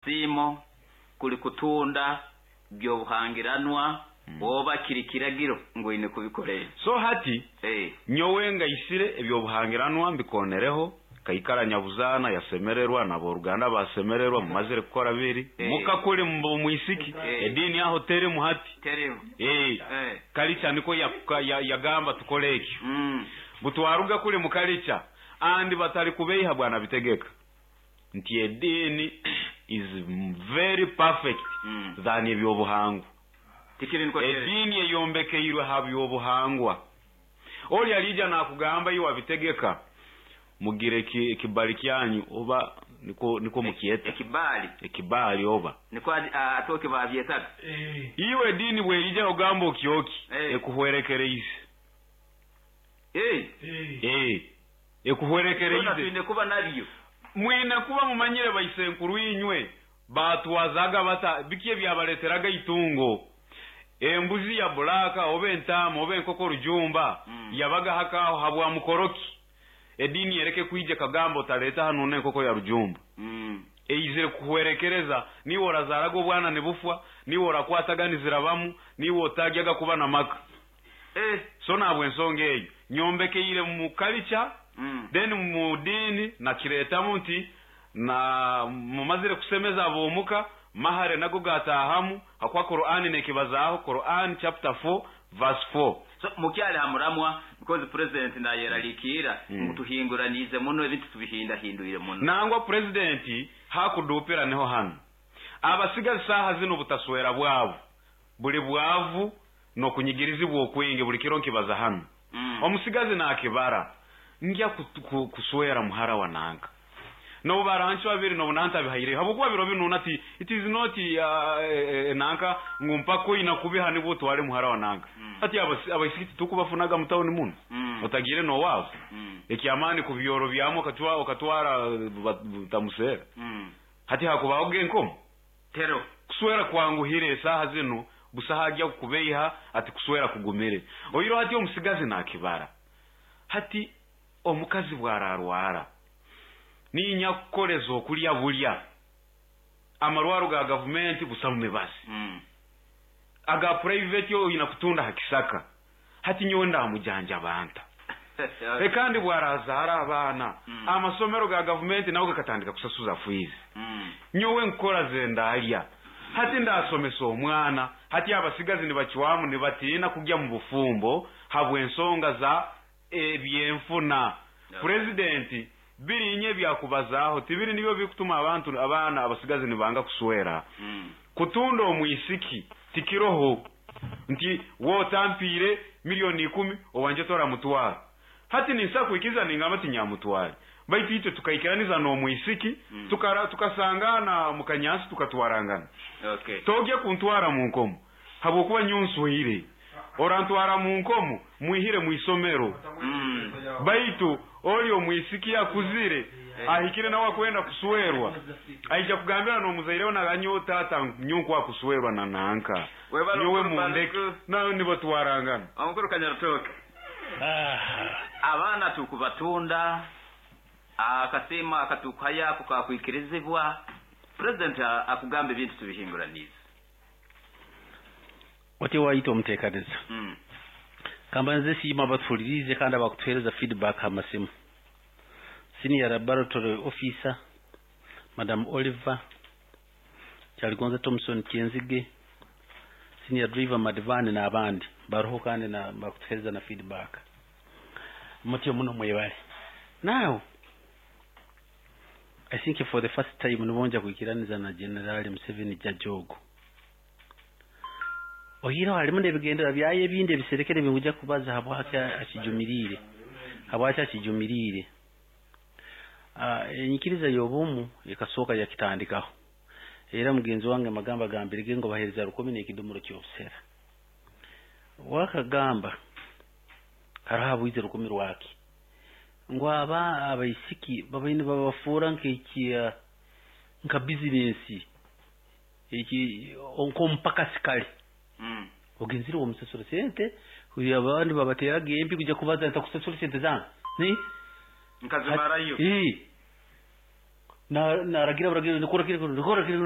Siimo kuli kutunda byobuhangiranwa oba kiri kiragiro ngu oine kubikora ebi. So hati nyowe ngaisire ebyobuhangiranwa mbikonereho, kaikara nyabuzaana yasemererwa n'aboruganda basemererwa, mumazire kukora biri muka kuli mwisiki, ediini aho terimu hati. Terimu. Kalicha niko yagamba tukole ekyo. Butwaruga kuli mu kalicha andi batali kubeiha bwana bitegeka nti ediini is very perfect than ebyobuhangwa. Tikiri niko kiri. Ediini eyombekeirwe ha byobuhangwa. Oli alija nakugamba iwe abitegeka mugire ekibali kyanyu oba niko mukyeta. Ekibali. Ekibali oba. Niko atoke babyetaga. Iwe ediini bwerija ogamba okyoki ekuhwerekereize. Ekuhwerekereize. Twine kuba nabyo. Mwine kuba mumanyire baisenkuru inywe batwazaga bata biki ebyabaleteraga itungo. Embuzi ya bulaka oba entaama oba enkoko rujumba yabaga hakaho habwa mukoroki. Edini yereke kwija kagamba otaleta hano n'enkoko ya rujumba. Eizire kuhwerekereza niwe orazaraga obwana nibufwa, niwe orakwataganizira bamu, niwe otagyaga kuba na maka. So nabwe ensonga eyo nyombekeire mu kalicha, then mu dini nakiretamu nti na mumazire kusemeza abomuka mahare nago gatahamu hakwa Qur'ani nekibazaho Qur'an chapter 4 verse 4. So mukyali hamuramwa because president nayeralikira ngu tuhinguranize muno ebintu tubihindahindwire muno. Nangwa president hakudupira niho hano abasigazi saha zino butaswera bwabo buli bwavu nokunyigirizibwa okwingi buli kiro nkibaza hano. Omusigazi nakibara ngya kuswera muhara wa nanka nobu barancho babiri nobu nanta bihaireyo habwokuba biro binu nati it is not nanka ngu mpaka oyina kubiha nibwo otware muhara wa nanka. Hati abaisiki tukubafunaga mu tawuni muno. Otagire nowabo. Ekyamaani ku byoro byamu okatwara butamusera. Hati hakubaho genkomo. Tero. Kuswera kwanguhire esaha zino busaha ajya kukubeiha ati kuswera kugumire. Oyiro hati omusigazi nakibara. Hati omukazi bwararwara ninya kukoleza okulya bulya amarwaro ga gavumenti busa mu mibazi. Aga private yo oyina kutunda hakisaka. Hati nyowe ndamujanja banta. Kandi bwarazara abaana amasomero ga gavumenti nawe gakatandika kusasuza fees. Nyowe nkora zendalya. Hati ndasomesa omwana. Hati abasigazi nibachwamu nibatina kujya mu bufumbo habw'ensonga za ebyenfuna. President birinye byakubazaho tibiri nibyo bikutuma abantu abaana abasigazi nibanga kuswera. Kutunda omwisiki tikiroho nti wotampire 10,000,000 owanje tora mutwara. Hati ninsa kuikiza ningamba tinyamutware. Baitu itwe tukaikiraniza n'omwisiki, tukasangana mu kanyansi tukatwarangana. Togye kuntwara mu nkomo habwokuba nyonswire. Orantwara mu nkomo mwihire mu isomero. Baitu oli omwisiki akuzire ahikire nawe akwenda kuswerwa aija kugambira n'omuzaireho naganyo tata nyonko akuswerwa na nanka. Nyowe mundeke nawe nibo twarangana. Omukuru Kanyarutoke. Abaana tukubatunda akasima akatukuhaya kukakwikirizibwa. President akugamba ebintu tubihinguranize. Wati wayita omuteekaniza. Kamba nze siima batuhulirize kandi abakutuheereza feedback amasimu. Senior Laboratory Officer Madam Oliver Kyaligonza Thompson Kyenzige, Senior Driver Madivani n'abandi baroho kandi na bakutuheereza na feedback. Mutyo muno mwebale. Now I think for the first time nibonja kuikiraniza na General Museveni Jajogo. Ohiro halimu n'ebigendera byaye ebindi ebiserekere binguja kubaza habwaki akijumirire. Habwaki akijumirire. Enyikiriza y'obumu ekasooka yakitandikaho. Era mugenzi wange magamba gambirege ngo bahereza 10 n'ekidomoro ky'obusera. Wakagamba hariho abwize 10 rwaki. Ngo aba abaisiki babaine babafuura nk'eki nka bizinesi eki nkompaka sikale. Ogenzire omusasura sente kuya abandi babateraga empi kujya kubaza ntakusasura sente zange. Ni nkazimarayo. Na naragira baragira nikora kiri nikora kiri.